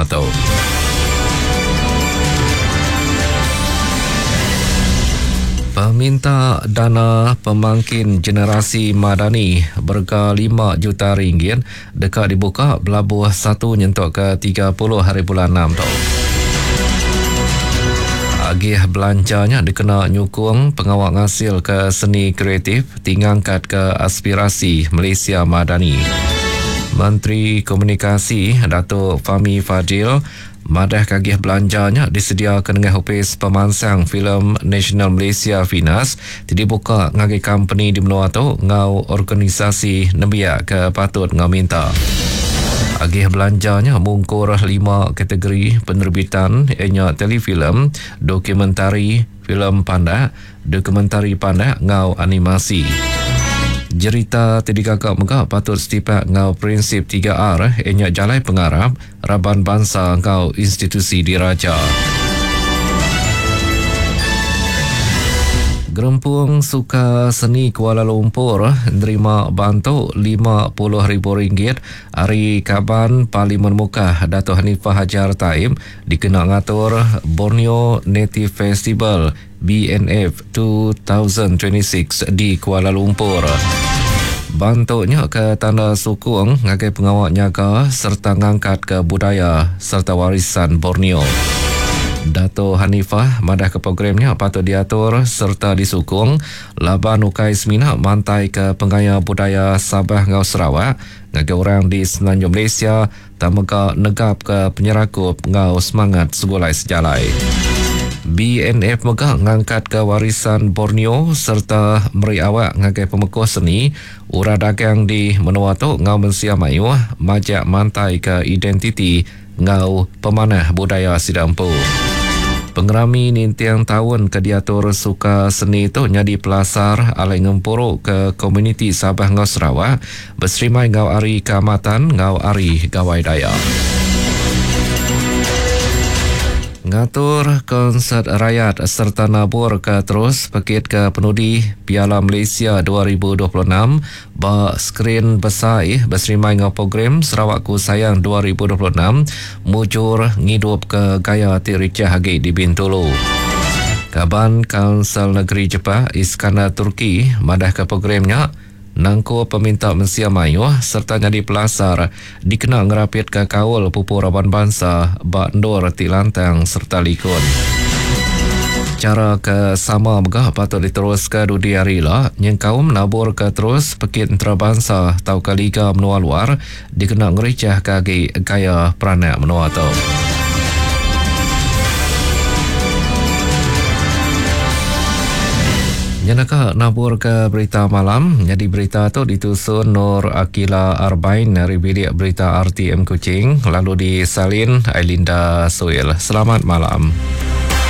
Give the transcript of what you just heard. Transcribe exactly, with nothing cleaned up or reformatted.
menua tu. Peminta dana pemangkin generasi Madani berega lima juta ringgit deka dibuka belabuh satu nyentuk ke tiga puluh hari bulan enam tu. Agih belanjanya dikena nyukung pengawal ngasil ke seni kreatif tingangkat ke aspirasi Malaysia Madani. Menteri Komunikasi Datuk Fahmi Fadzil madah kagih belanjanya disediakan dengan Ofis Pemansang Filem Nasional Malaysia Finas dibuka ngagai company di menua tu ngau organisasi nembiak ke patut ngau minta. Agih belanjanya mungkur lima kategori penerbitan ianya telefilm, dokumentari, filem pandak, dokumentari pandak ngau animasi. Jerita ti digagak mega patut setipak ngau prinsip tiga R ianya jalai pengarap, raban bangsa ngau institusi diraja. Gerempung Suka Seni Kuala Lumpur nerima bantu lima puluh ribu ringgit hari Kaban Parlimen Mukah Dato' Hanifah Hajar Taib dikena ngatur Borneo Native Festival B N F dua ribu dua puluh enam di Kuala Lumpur. Bantuknya ke tanda sukung ngagai pengawal nyaga serta ngangkat ke budaya serta warisan Borneo. Dato' Hanifah madah ke programnya patut diatur serta disukung laban ukai semina mantai ke pengaya budaya Sabah ngau Sarawak ngagai orang di Semenanjung Malaysia tamega negap ke penyerakup ngau semangat segulai sejalai. B N F mega ngangkat ke warisan Borneo serta meri awak ngagai pemekuh seni ura dagang di menua tu ngau mensia mayuh majak mantai ke identiti ngau pemanah budaya Sidampu. Pengerami nintiang tahun ke diatur Suka Seni tu nyadi pelasar alai ngempuru ke komuniti Sabah ngau Sarawak berserimai ngau Ari Kaamatan ngau Ari Gawai Dayak. Ngatur konsert rakyat serta nabur ke terus pekit ke penudi Piala Malaysia dua ribu dua puluh enam ba skrin besar berserimai ngau program Sarawakku Sayang dua ribu dua puluh enam mujur ngidup ke gaya ti ricah agi di Bintulu. Kaban Kaunsil Negeri Jepak Iskandar Turki madah ke programnya nangku peminta mensia mayuh serta jadi pelasar dikena ngerapit ke kaul pupu raban bangsa bak ndor ti lantang serta likun. Cara ke sama megah patut diteruskan dudi hari lah nyengkaum nabur ke terus pekit antarabangsa tau ke liga menua luar dikena ngericah kagi gaya peranak menua tu. Nyanaka nabur ke berita malam. Jadi berita tu ditusun Nur Akila Arbain dari bilik berita R T M Kuching, lalu disalin Ailinda Suil. Selamat malam.